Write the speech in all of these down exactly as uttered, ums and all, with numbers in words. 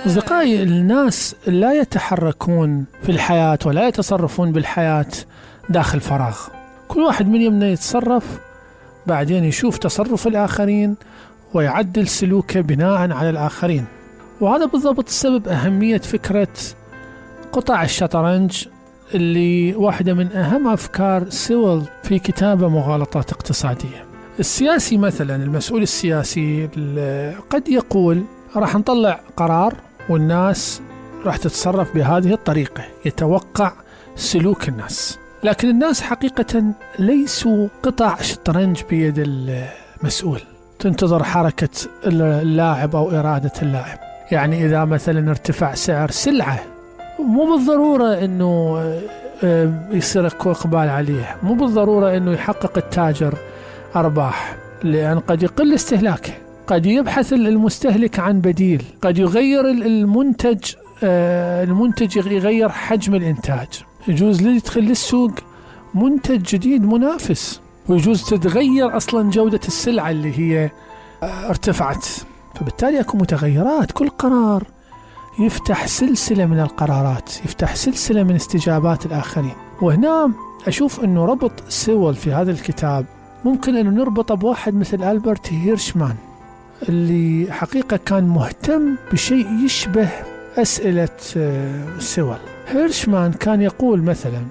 أصدقائي، الناس لا يتحركون في الحياة ولا يتصرفون بالحياة داخل فراغ. كل واحد من يمنا يتصرف، بعدين يشوف تصرف الآخرين ويعدل سلوكه بناء على الآخرين. وهذا بالضبط السبب أهمية فكرة قطع الشطرنج، اللي واحدة من أهم أفكار سيول في كتابه مغالطات اقتصادية. السياسي مثلا، المسؤول السياسي قد يقول راح نطلع قرار والناس راح تتصرف بهذه الطريقة، يتوقع سلوك الناس. لكن الناس حقيقة ليسوا قطع شطرنج بيد المسؤول تنتظر حركة اللاعب أو إرادة اللاعب. يعني إذا مثلا ارتفع سعر سلعة، مو بالضرورة أنه يصير إقبال عليه، مو بالضرورة أنه يحقق التاجر أرباح، لأن قد يقل استهلاكه، قد يبحث المستهلك عن بديل، قد يغير المنتج المنتج يغير حجم الإنتاج، يجوز يدخل للسوق منتج جديد منافس، ويجوز تتغير أصلا جودة السلعة اللي هي ارتفعت. فبالتالي أكو متغيرات. كل قرار يفتح سلسلة من القرارات، يفتح سلسلة من استجابات الآخرين. وهنا أشوف أنه ربط سيول في هذا الكتاب ممكن أنه نربطه بواحد مثل ألبرت هيرشمان، اللي حقيقة كان مهتم بشيء يشبه أسئلة سيول. هيرشمان كان يقول مثلا: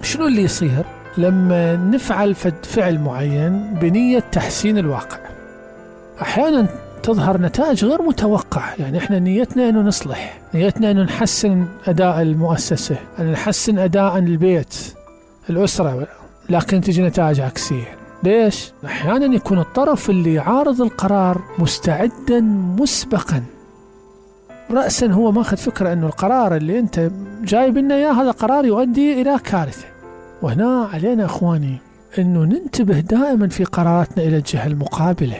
شنو اللي يصير لما نفعل فعل معين بنية تحسين الواقع؟ أحيانا تظهر نتائج غير متوقعة. يعني إحنا نيتنا أنه نصلح، نيتنا أنه نحسن أداء المؤسسة، أن نحسن أداء البيت، الأسرة، لكن تجي نتائج عكسية. ليش؟ أحيانا يكون الطرف اللي يعارض القرار مستعدا مسبقا، رأسا هو ماخذ فكرة أنه القرار اللي أنت جايب لنا إياه هذا قرار يؤدي إلى كارثة. وهنا علينا أخواني أنه ننتبه دائما في قراراتنا إلى الجهة المقابلة.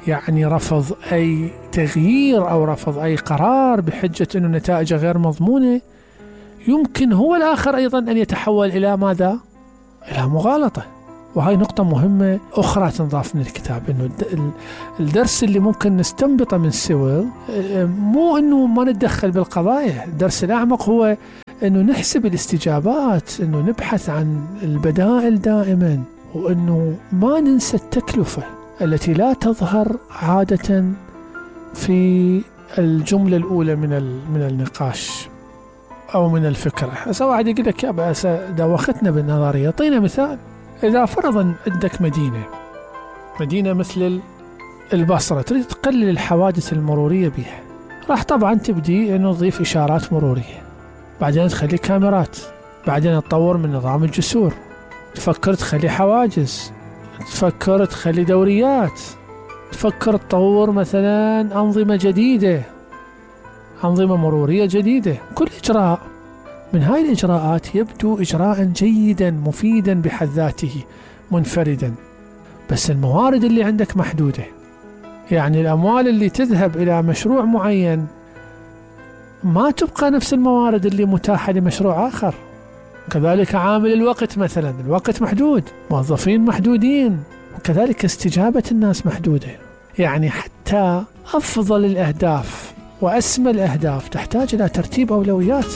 يعني رفض أي تغيير أو رفض أي قرار بحجة أنه نتائجه غير مضمونة، يمكن هو الآخر أيضا أن يتحول إلى ماذا؟ إلى مغالطة. وهي نقطة مهمة أخرى تنضاف من الكتاب، إنه الدرس اللي ممكن نستنبطه من سيول مو إنه ما نتدخل بالقضايا. الدرس الأعمق هو إنه نحسب الاستجابات، إنه نبحث عن البدائل دائما، وإنه ما ننسى التكلفة التي لا تظهر عادة في الجملة الأولى من من النقاش أو من الفكرة. هسه واحد يقول لك: يا بأس دوختنا بالنظرية. أعطينا مثال. إذا فرضا عندك مدينة مدينة مثل البصرة، تريد تقلل الحوادث المرورية بها، راح طبعا تبدي أنه تضيف إشارات مرورية، بعدين تخلي كاميرات، بعدين تطور من نظام الجسور، تفكر تخلي حواجز، تفكر تخلي دوريات، تفكر تطور مثلا أنظمة جديدة، أنظمة مرورية جديدة. كل إجراء من هاي الإجراءات يبدو إجراء جيدا مفيدا بحد ذاته منفردا، بس الموارد اللي عندك محدودة. يعني الأموال اللي تذهب إلى مشروع معين ما تبقى نفس الموارد اللي متاحة لمشروع آخر. كذلك عامل الوقت مثلا، الوقت محدود، موظفين محدودين، وكذلك استجابة الناس محدودة. يعني حتى أفضل الأهداف وأسمى الأهداف تحتاج إلى ترتيب أولويات.